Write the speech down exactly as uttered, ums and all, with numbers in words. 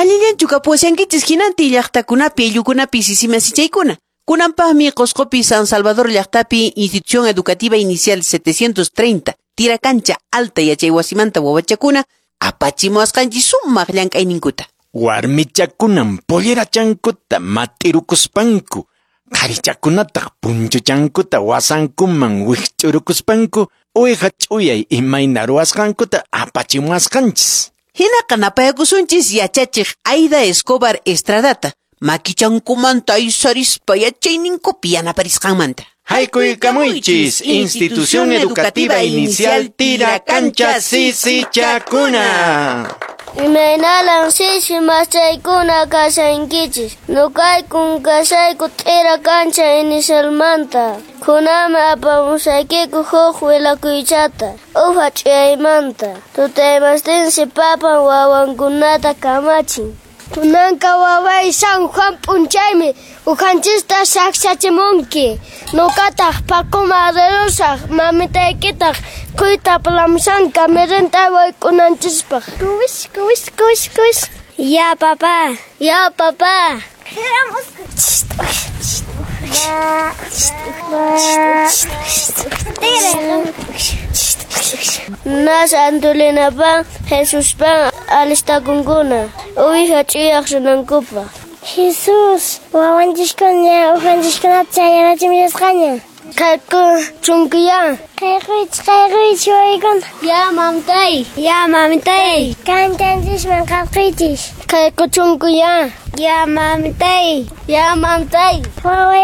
Allillanchu kapuwashankichis hinantin llaqtakunapi ayllukunapi sisimasichaykuna. Kunanpaqmi Qosqopi San Salvador llaqtapi Institución Educativa Inicial setecientos treinta Tiracancha Alta yachaywasimanta wawachakuna apachimuwasqanchis sumaq llank'ayninkuta. Warmichakunan pollerachankuta mat'irukuspanku, qharichakunataq punchuchankuta wasankuman wikch'urukuspanku uwiha ch'uyay imayna ruwasqankuta apachimuwasqanchis. Hinaqa napayakusunchis yachachiq Aida Escobar Estradata, makichankumanta aysarispa yachayninkupi yanaparisqanmanta. Haykuykamuychis, Institución Educativa Inicial Tiracancha Sisichakuna. Imaynalan sisi machaykuna kashankichis. Nukaykun kashayku Tiracancha Inicialmanta. Kunami apamusaykiku huk willakuychata. Ufa ch'uyaymanta. Tutaymastinsi papan wawankunata kamachin. Kunanka waway San Juan p'unchaymi uqanchista saqsachimunki. Nuqataq paquma rirusaq mamitaykitaq quyta plamsanka mirinta wayk'unanchispaq. Kuwis, kuwis, kuwis, kuwis. Ya papá, ya papá. Nas Antolinapan, Jesuspan alistakunkuna uwiha ch'uyaq rinankupaq. Jesús, wawanchiskuna uqanchiskunata chayanachimillasqaña. Qayku chunkuya. Qayquychis, qayquychis wawaykuna. Ya mamtay, ya mamitay. Kanchanchisman qarquychis. Qayku chunkuya. Ya mamitay, ya mamtay. Waway